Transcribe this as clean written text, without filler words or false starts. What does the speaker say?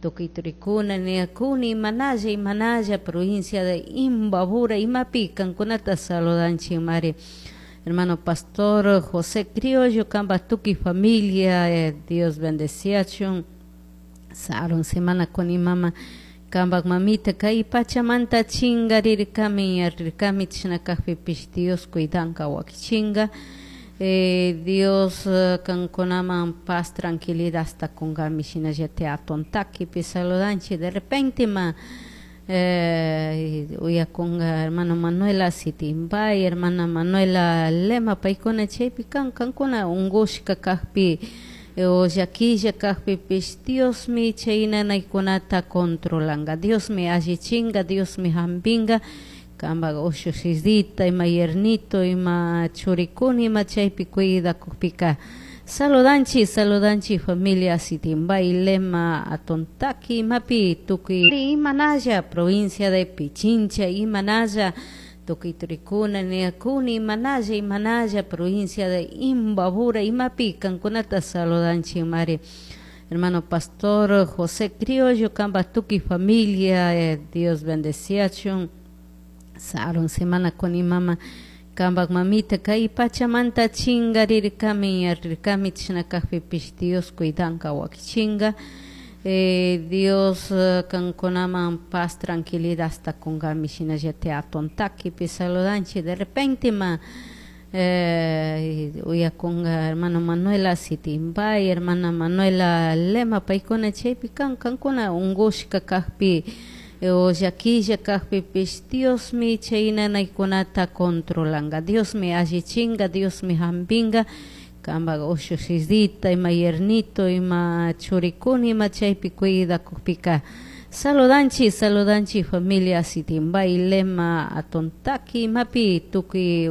Tukuy turikuna niyakuni imanalla imanalla provincia de Imbabura imapi kankunata saludanchikmari. Hermano pastor José Criollo kanpak tukuy familia Dios bendeciachun. Sarun semana kuni mama kanpak mamita kay pachamanta chingarirkami yarirkami chashna kakpipish Dios cuidanka wakichinka. Dios kankunaman paz tranquilidadta kunkami shinallatik Atontaquipi saludanchik de repente ma uyakunka hermano Manuela Sitimbay, hermana Manuela Lema paykuna chaypi kan kankuna unkushka kakpi o llakilla kakpipish Diosmi chay nanaykunata controlanka, Diosmi allichinka, Diosmi hampinka. Kanpak ushushitita ima yernito ima churikuna ima chaypi cuidakukpika saludanchik saludanchik familia Sitimbay Lema Atontaqui imapi tukuy imanalla provincia de Pichincha imanalla tukuy turikuna niyakuni imanalla imanalla provincia de Imbabura imapi kankunata saludanchikmari. Hermano pastor José Criollo kanpak tukuy familia Dios bendeciachun. Sarun semana kuni mama kanpak mamita kay pachamanta chingarirkami yarirkami chashna kakpipish Dios cuidanka wakichinka. Dios kankunaman paz tranquilidadta kunkami shinallatik Atontaquipi saludanchik de repente ma uyakunka hermano Manuela Sitimbay, hermana Manuela Lema paykuna chaypi kan kankuna unkushka kakpi o llakilla kakpipish Diosmi chay nanaykunata controlanka, Diosmi allichinka, Diosmi hampinka. Kanpak ushushitita ima yernito ima churikuna ima chaypi cuidakukpika saludanchik saludanchik familia Sitimbay Lema Atontaqui imapi tukuy.